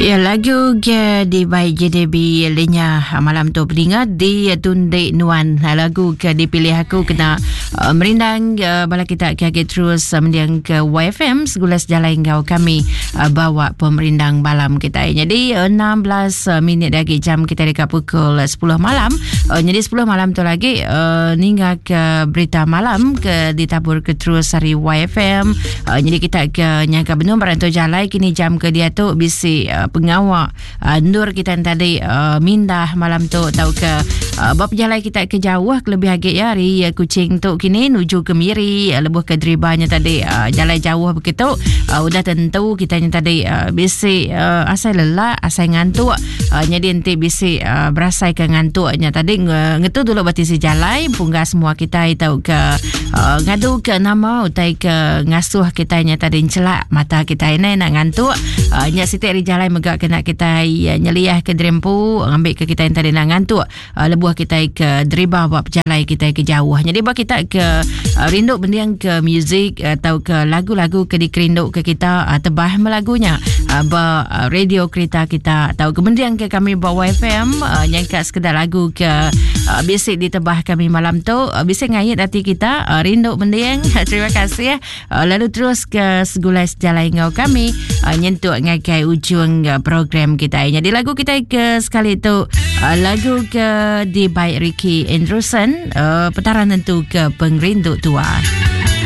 Ya lagu ke di by JDB Lenya malam tu peninga di Tundik Nuan lagu ke dipilih aku kena uh, merindang uh, bala kita ke agi terus uh, mendiang ke YFM segula sejalai enggau kami uh, bawa pemerindang malam kita. Jadi uh, 16 uh, minit lagi jam kita dekat pukul 10 malam. Uh, jadi 10 malam tu lagi uh, ningga ke berita malam ke ditabur ke terus hari YFM. Uh, jadi kita ke nyangka benung barang tu jalai kini jam ke dia tu bisi uh, pengawa uh, endur kita yang tadi uh, mindah malam tu tau ke uh, bab jalai kita ke jauh kelebih agi ya hari uh, Kuching tu kini nuju ke Miri uh, lebuh ke deribanya tadi uh, jalai jauh begitu uh, udah tentu kita yang tadi uh, bisi uh, asai lelak asai ngantuk uh, jadi enti bisi uh, berasai ke ngantuknya tadi ngetu dulu batisi jalai pungga semua kita tau ke uh, ngadu ke nama utai ke ngasuh kita nya tadi celak mata kita ini nak ngantuk uh, nya siti ari jalai mega kena kita uh, nyeliah ke derempu ngambil ke kita yang tadi nak ngantuk uh, lebuh kita ke deriba buat pejalai kita ke jauh jadi buat kita ke uh, rindu bending ke muzik atau ke lagu-lagu ke dikerinduk ke kita uh, tebah melagunya uh, ba uh, radio kereta kita atau ke bending ke kami ba YFM uh, nyangka sekedar lagu ke uh, bisi ditebah kami malam tu uh, bisi ngait hati kita uh, rindu mending terima kasih uh, lalu terus ke segulai sejalai ngau kami uh, nyentuk ngagai ujung uh, program kita jadi lagu kita ke sekali tu uh, lagu ke di by Ricky Anderson uh, petaran tentu ke pengerindu tua.